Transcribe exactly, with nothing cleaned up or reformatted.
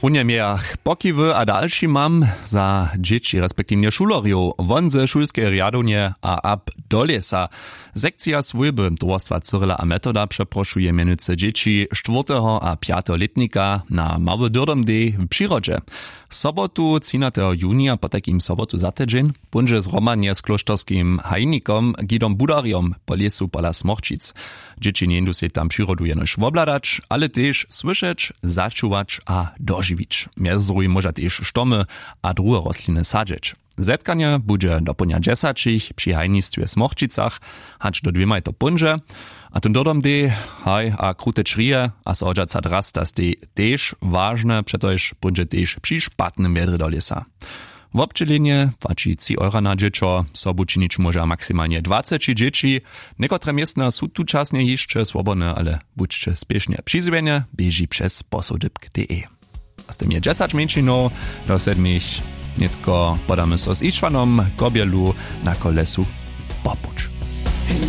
Runje mějach pokiwy a dalšimam za dźěći respektiwnje šulerjow won ze šulskeje rjadownje a ab do lěsa. Sekcija swójby towarstwa cyrila a metoda přeprošuje mjenujcy dźěći štwórteho a pjateho lětnika na mały dyrdom dej w přirodźe. Sobotu třinateho junija potajkim sobotu za tydźeń póńdźe zhromadnje z klóšterskim hajnikom gidom budarjom po lěsu pola smorčic. Dźěći njeńdu sej tam přirodu jenož wobhladać, ale tež słyšeć, začuwać a dožiwić. Mjez druhim móža tež štomy a druhe rostliny sadźeć. Zetkanje budźe dopołdnja dźesaćich při hajnistwje w smorčicach hač do dwěmaj to póńdźe. A tón dodom dej, haj a krute črije a so hodźaca drasta stej tež wažne přetož póńdźe tež při špatnym wjedrje do lěsa. Wobdźělenje płaći tři eura na dźěćo. Sobu činić móža maksimalnje dwaceći dźěći. Někotre městna su tučasnje hišće swobodne, ale budźće spěšnje přizwjenje běži přez posołdypk de. A z tym je dźesać mjeńšinow do sedmich. Nětko podamy so z išwanom kobjelu na kolesu popuć.